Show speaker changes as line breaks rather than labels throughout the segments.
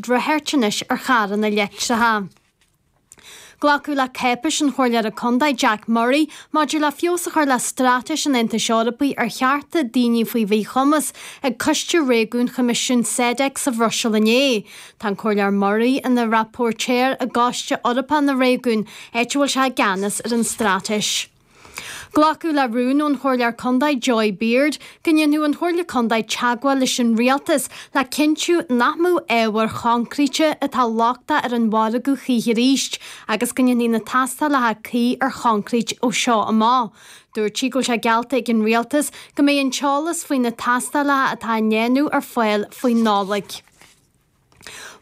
ag rith anois ar charranna leictreacha. Glacadh le cáipéis an Chomhairleora Contae Jack Murray maidir le feabhas a chur le Straitéis an Aontais Eorpaigh ar chearta daoine faoi mhíchumas ag Coiste Réigiúin Choimisiún SEDEC sa Bhruiséil inné. Tá an Comhairleoir Murray ina rapóirtéir i gCoiste Eorpach na Réigiún, áit a bhfuil sé i gceannas ar an straitéis. Glacadh le rún ón Chomhairleoir Contae Joy Beard go ndéanfadh an Chomhairle Contae teagmháil leis an Rialtas le cinntiú nach mbeadh ábhair choincréite atá lochtach ar an mhargadh choíche arís agus go ndéanfaí na tástálacha cuí ar choincréit ó seo amach. Dúirt sí go bhfuil sé geallta ag an Rialtas go mbeidh an t-eolas faoi na tástálacha atá á ndéanamh ar fáil faoin Nollaig.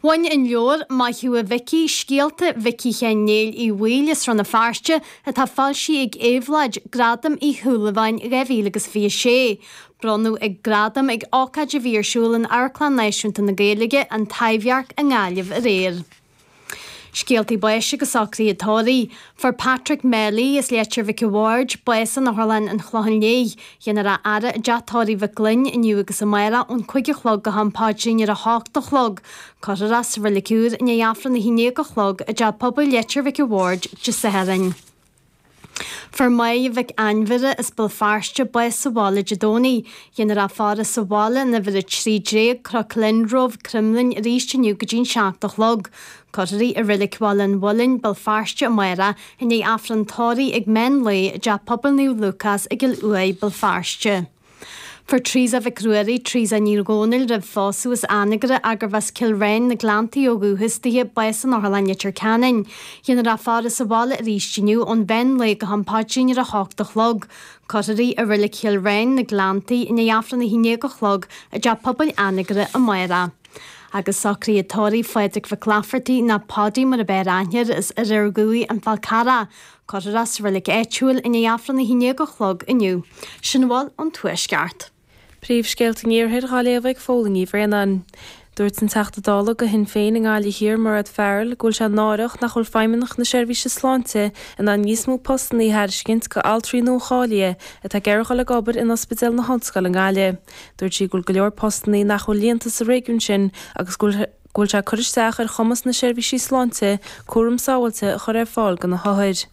Bhain an leabhar Maith Thú a Mhicí, Scéalta Mhicí Sheáin Néill Uí Bhaoill as Rann na Feirste, atá foilsithe ag Éabhlóid, Gradam Uí Shúilleabháin 2026. Bronnadh ag gradam ag ócáid a bhí ar siúl in Amharclann Náisiúnta na Gaeilge, An Taibhdhearc i nGaillimh aréir. Scéaltaí báis agus socruithe tórraimh. Fuair Patrick Melly as Leitir Mhic a' Bhaird bás in Otharlann an Chlocháin Léith. Dhéanfar a fhaire i dteach tórraimh Mhic Gloinn inniu agus amárach ón 5 a chlog go ham paidrín ar a hocht a chlog. Cuirfear é sa Reilig Úr i ndiaidh Aifreann a 11 a chlog i dTeach Pobail Leitir Mhic a' Bhaird Dé Sathairn. Fuair Máire Mhic Ainmhire as Béal Feirste bás sa bhaile Dé Domhnaigh. Dhéanfar a faire sa bhaile in uimhir 13, Crocglen Grove, Cromghlinn arís inniu go dtí'n 7 a chlog. Cuirfear í i Reilig Bhaile an Mhuilinn, Béal Feirste amárach i ndiaidh Aifreann tórraimh ag meán lae i dTeach Pobail Naomh Lúcás i gCill Uaighe, Béal Feirste. Fuair Teresa Mhic Ruairí, Teresa Ní Dhomhnaill roimh phósadh as Anagaire gurbh as Cill Ráin, na Gleanntaí ó dhúchas dithe, bás in Otharlann Leitir Ceanainn. Dhéanfar a faire sa bhaile arís inniu ón mheán lae go ham paidrín ar a hocht a chlog. Cuirfear í i Reilig Chill Ráin, na Gleanntaí, i ndiaidh Aifreann a haon déag a chlog i dTeach Pobail Anagaire amárach. Agus socruithe tórraimh Phádraig Mhic Laifeartaigh nó Paudie mar ab fhearr aithne air as Oirear Dhuibh, An Fál Carrach. Cuirfear é sa reilig áitiúil i ndiaidh Aifreann a haon déag a chlog inniu. Sin a bhfuil ón Tuaisceart.
Príomhscéalta an Iarthair dhá léamh ag Fódhla Ní Bhraonáin. Dúirt an Teachta Dála do Shinn Féin i nGaillimh Thiar, Mairéad Farrell, go bhfuil sé náireach nach bhfuil Feidhmeannacht na Seirbhíse Sláinte in ann níos mó postanna a thairiscint go altraí nua-cháilithe atá ag iarraidh dhul ag obair in Ospidéal na hOllscoile i nGaillimh. Dúirt sí go bhfuil go leor postanna nach bhfuil líonta sa réigiún sin agus go bhfuil go bhfuil sé ag cur isteach ar chumas na seirbhísí sláinte cúram sábháilte a chur ar fáil do na hothair.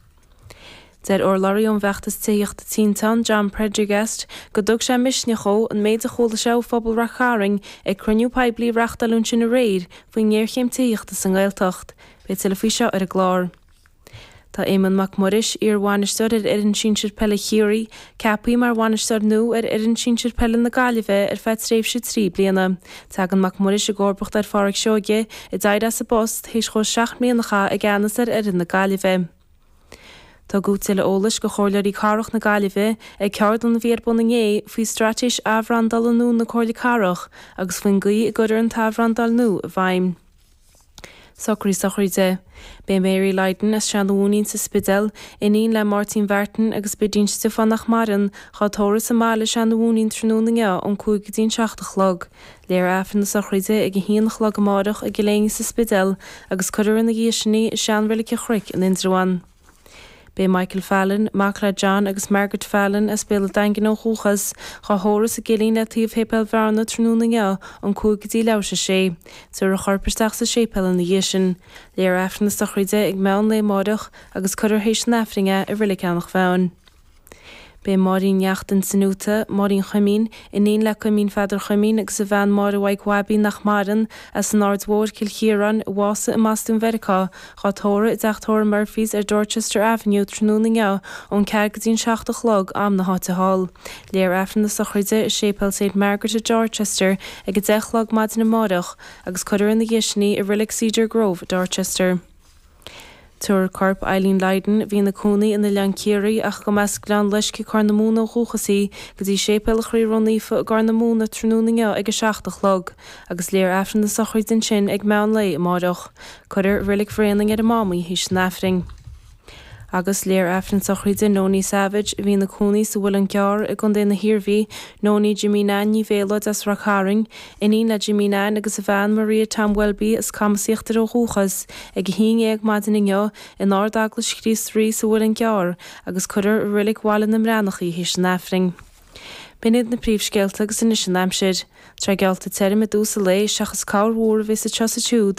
Deir urlabhraí ón bhfeachtas tithíochta Tinteán, John Prendergast, go dtug sé misneach dhó an méid a chuala sé ó phobal Rath Cairn ag cruinniú poiblí a reáchtáileadh ansin aréir faoin ngéarchéim tithíochta sa nGaeltacht. Beidh tuilleadh faoi seo ar an gclár. Tá Éamonn Mac Muiris, iar-bhainisteoir ar fhoireann sinsir peile Chiarraí, ceaptha mar bhainisteoir nua ar fhoireann sinsir peile na Gaillimhe ar feadh tréimhse 3 bliana. Tagann Mac Muiris i gcomharbacht ar Pháraic Seoige, a d'éirigh as an bpost théis dhó 7 mbliana a chaitheamh i gceannas ar fhoireann na Gaillimhe. Tugadh tuilleadh eolais do Chomhairleoirí Cathrach na Gaillimhe ag ceardlann a bhí ar bun inné faoi straitéis athbhrandála nua na Comhairle Cathrach agus faoin gcaoi a gcuirfear an t-athbhrandáil nua i bhfeidhm. Socruithe sochraide. B'é Mary Lydon as Seanadh Mhúinín sa Spidéal, iníon le Máirtín Mhartin agus Bidín Stiofáin nach maireann, dhá tórramh sa mbaile Seanadh Mhúinín tráthnóna inniu ón 5 go dtí an 7 a chlog. Léifear Aifreann na sochraide ag a haon a chlog amárach i gCill Éinne sa Spidéal agus cuirfear ina dhiaidh sin í i sean-reilig an Chnoic in Indreabhán. B'é Michael Fallon, mac le John agus Margaret Fallon as Béal an Daingin ó dhúchas, dhá thórramh sa gCillín le taobh Shéipéal Bhearna tráthnóna inniu ón 5 go dtí leathuair tar éis a sé. Tabharfar a chorp isteach sa séipéal ina dhiaidh sin. Léifear Aifreann na sochraide ag meán lae amáireach agus cuirfear théis an Aifrinn é i Reilig Eanach Mheáin. B'é Máirín Neachtain Sanuta, Máirín Chuimín, iníon le Cuimín Pheadair Chuimín agus a bhean Máire Mhaidhc Bhaibín nach maireann, as an Aird Mhóir, Cill Chiaráin, a bhásaigh i mBostún Mheiriceá, dhá tórramh i dteach tórraimh Murphy's ar Dorchester Avenue tráthnóna inniu ón ceathair go dtí an 7 a chlog, am na háite thall. Léifear Aifreann na sochraide i Séipéal Saint Margaret i Dorchester ag 10 a chlog maidin amáireach agus cuirfear ina dhiaidh sin í i Reilig Cedar Grove i Dorchester. Tabharfar corp Eileen Lydon, a bhí ina cónaí in Oileán Ciarraí ach go mba as Gleann Loiscthe Corr na Móna ó dhúchas í, go dtí Séipéal an Chroí Ró-Naofa i gCorr na Móna tráthnóna inniu ag 7 a chlog, agus léifear Aifreann na sochraide ansin ag meán lae amáireach. Cuirfear i Reilig Bhréanainn ar an Mámaí théis an Aifrinn. Agus léifear Aifreann sochraide Nonie Savage, a bhí ina cónaí sa Mhuileann gCearr i gContae na hIarmhí, Nonie Jimí Nan Ní Mhéalóid as Rath Cairn, iníon le Jimí Nan agus a bhean Maria Tom Welby as Camas Íochtair ó dhúchas, ag 11 maidin inniu in Ard-Eaglais Chríost Rí sa Mhuileann gCearr agus cuirfear i Reilig Bhaile na mBreathnach í théis an Aifrinn. B'in iad na príomhscéalta agus anois an aimsir. Tá sé geallta tirim i dtús an lae seachas corrmhúr a bheas anseo is ansiúd.